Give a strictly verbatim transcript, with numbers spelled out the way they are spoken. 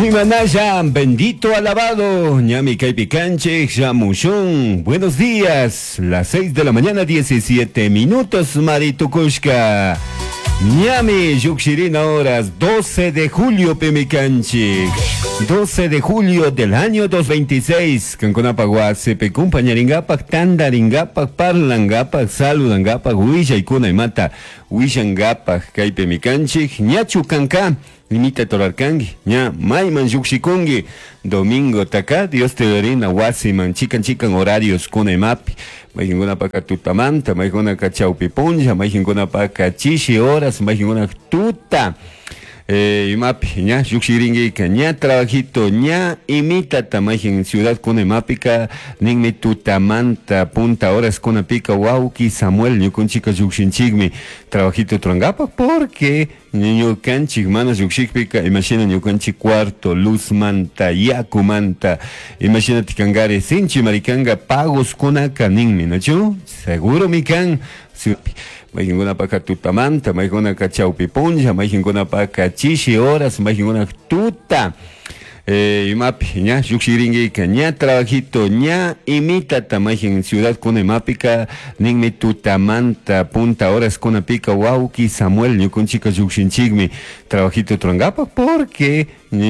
Imanaya, bendito alabado, ñami kaypi kanchik, shamushun. Buenos días, las seis de la mañana, diecisiete minutos, Maritukushka. Ñami, llukshirina horas, doce de julio, pimi kanchik. doce de julio del año dos mil veintiséis. Kankunapak wasipi kumpañaringapak, tandaringapak, parlangapak, saludangapak, willaykuna imata willangapak kaypimi kanchik. Ñachu kanka imita rurarkanki, ña mayman llukshikunki domingo taka Dios te rina wasiman, chikan chikan horarios kuna imapi, mayqinkunapaka tutamanta, mayqinkunaka chawpi punlla, mayqinkunapaka chishi horas, mayqinkuna tuta eh, imapi ña llukshirinki, ña trabajito, ña imitata mayqin ciudad kuna imapika ninmi tutamanta punta horas kunapika wawki Samuel ñukunchika llukshinchikmi trabajito rurankapak, porque ñukanchik mana llukshikpika imashina ñukanchik cuarto luzmanta, yakumanta, imashinati kankari, sinchi marikanga pagos kunaka ninmi, nachu seguro mi kan. Mayqinkunapaka tutamanta, mayqinkunaka chawpi punlla, mayqinkunapaka chishi horas, mayqinkuna tuta eh, imapi ña llukshirinki, ña trabajito, ña imitata mayqin ciudad kuna imapika ninmi tutamanta punta horas kunapika wawki Samuel ñukunchika llukshinchikmi trabajito rurankapak, porque